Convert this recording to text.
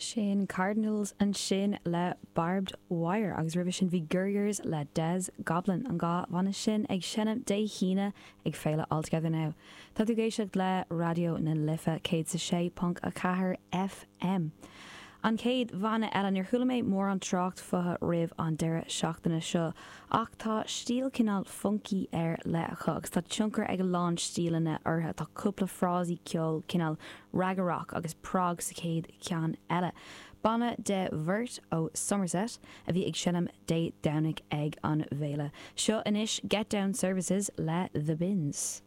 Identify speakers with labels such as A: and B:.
A: Sin Cardinals ansin le Barbed Wire agus roimhe sin bhí Gurriers le Des Goblin, an dá bhanna sin ag seinm Dé hAoine ag Féile All Together Now. Tá tú ag éisteacht le Raidió na Life 106.4 FM. An chéad bhanna eile, níor chuala mé mórán trácht fúthu roimh an deireadh seachtaine seo ach tá stíl cineál funky ar leith acu agus tá tionchar ag a lán stíleanna orthu. Tá cúpla frásaí ceoil cineál ragga rock agus prog sa chéad cheann eile. Banna de bheirt ó Somerset a bhí ag seinm Dé Domhnaigh ag an bhféile. Seo anois Get Down Services le The Bins.